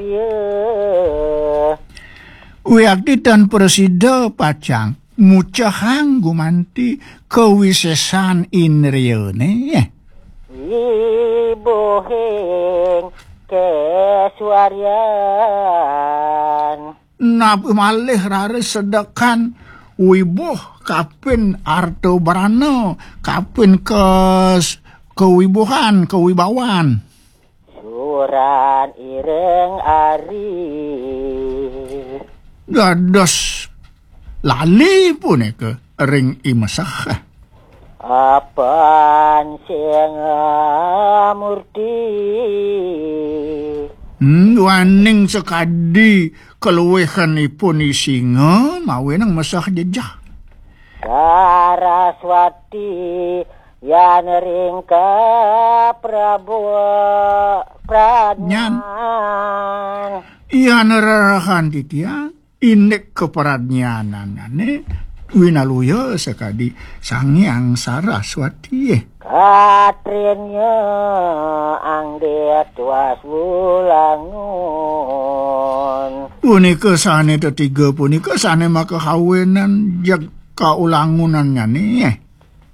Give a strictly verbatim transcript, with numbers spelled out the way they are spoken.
Iya. Wiakti tan prasida pacang mucehang gumanti kawisésan indriyané. Wibuhing kasuaryan. Napi malih raris sedekan wibuh kapin arta brana, kapin kes-, kewibuhan, kewibawan. Suran ireng ari. Dados lali punika ring imeseh. Apan singa murti. Hmm, duaning sakadi kaluwihanipun i singa mawinan meseh jejeh. Saraswati yan ring kaprabu pradnyan. Yan rerahan titiang indik kapradnyanane winaluya sakadi Sang Hyang Saraswati. Katrinya anggit was wulangun. Punika sane tetiga punika sane makahawinan jeg kaulangunannyane.